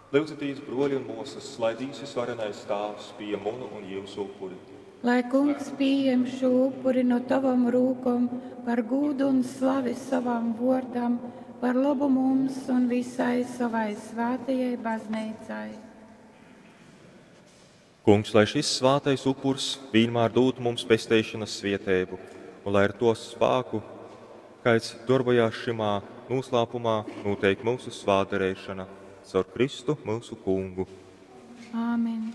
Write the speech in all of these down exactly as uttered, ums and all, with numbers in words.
Lyudzitīs, bruoļi un muosys, lai Dīvs Vysvarenais Tāvs pījam munu un jiusu upuri. Lai Kungs pījem šū upuri no tovom rūkom par gūdu un slavi sovam vuordam, par lobu mums un visai sovai svātajai bazneicai. Kungs, lai šis svātais upurs vīnmār dūtu mums pesteišonas svieteibu, un lai ar to spāku, kaids dorbojās šymā nūslāpumā, nūteik myusu svātdareišona caur Kristu myusu Kungu. Āmen.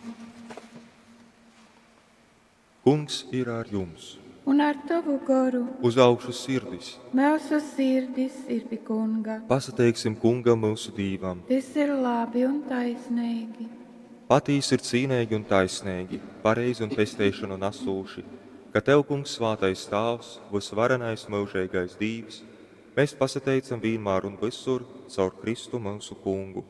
Kungs ir ar jums! Un ar tovu goru Uz augšu sirdis! myusu sirdis ir pi Kunga. Pasateiksim Kungam myusu Dīvam! Tys ir labi un taisneigi. Patīsi ir cīneigi un taisneigi, pareizi un pesteišonu nasūši, ka tev, Kungs, svātais Tāvs, vysvarenais myužeigais Dīvs, mēs pasateicam vīnmār un vysur caur Kristu myusu Kungu.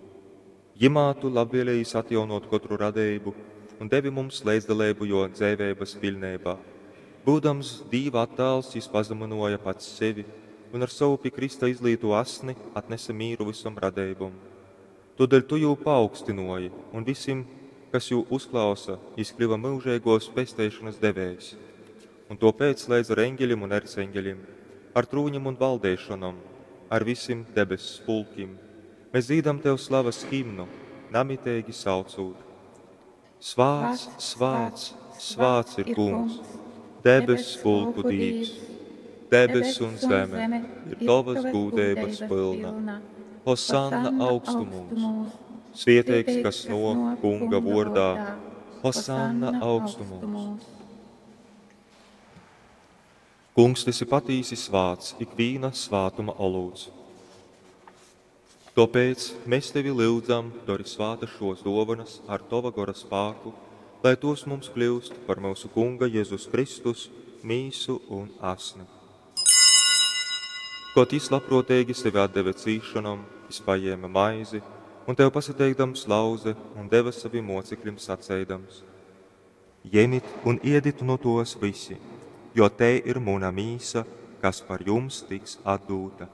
Jymā tu labvēlējīs atjaunōt kotru radeibu un devi mums leidzdaleibu jō dzeiveibas piļneibā. Byudams Dīva attāls, jys pazamynōja pats sevi un ar sovu pi krysta izlītū asni atnese mīru vysom radeibom. Tōdēļ tu jū paaugstynōji, un visim, kas jū uzklausa, jys kļyva myužeigōs pesteišonas devējs. Un tōpēc leidz ar eņgelim un erceņgelim, ar trūņim un valdeišonom, ar visim debess pulkim, mēs dzīdam tev slavas himnu, namiteigi saucūt: Svāts, svāts, svāts ir Kungs, debess pulku Dīvs. Debess un zeme ir tovas gūdeibas pylna. Hosanna augstumūs! Svieteigs, kas nōk Kunga vōrdā. Hosanna augstumūs! Kungs, tu esi patīsi svāts, ikvīna svātuma olūts. Tōpēc mēs tevi lyudzam, dori svātas šōs dōvanas ar tova gora spāku, lai tos mums kļyust par myusu Kunga Jezus Kristus mīsu un asni. Kod jys labprōteigi sevi atdeve cīsšonom, jys pajēme maizi un tev pasateikdams lauze un deve savim mōcekļim saceidams: Jemit un iedit nu tōs vysi, jo tei ir muna mīsa, kas par jums tiks atdūta.